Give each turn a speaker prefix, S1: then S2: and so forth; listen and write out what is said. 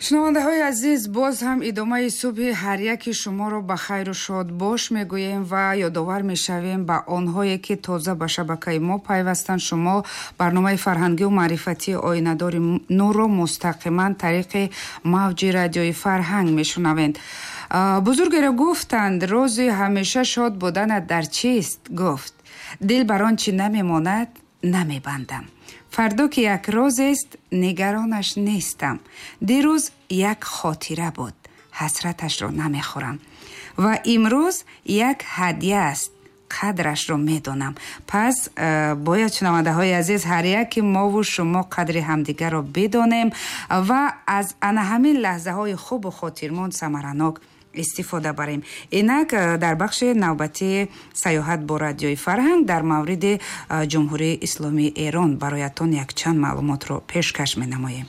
S1: Шунавандаҳои азиз, боз ҳам идомаи субҳи ҳар яки шуморо ба хайру шодбош мегӯем ва ёдовар мешавем ба онҳое, ки тоза ба шабакаи мо пайвастанд. Шумо барномаи фарҳангию маърифатии «Оинадори нурро» мустақиман тариқи мавҷи Радиои Фарҳанг мешунавед. Бузургеро гуфтанд: «Рози ҳамеша шод буданат дар чист?» Гуфт: «Дил бар он чӣ намемонад намебандам. Фардо, ки як рӯзест, нигаронаш нестам. Дирӯз як хотира буд, ҳасраташро намехӯрам, ва имрӯз як ҳадя аст, қадрашро медонам». Пас бояд, шунавандаҳои азиз, ҳар яки мову шумо қадри ҳамдигарро бидонем ва аз ана ҳамин лаҳзаҳои хубу хотирмон самаранок истифода барем. Инак дар бахши навбатии «Саёҳат бо Радиои Фарҳанг» дар мавриди Ҷумҳурии Исломии Эрон бароятон якчанд маълумотро пешкаш менамоем.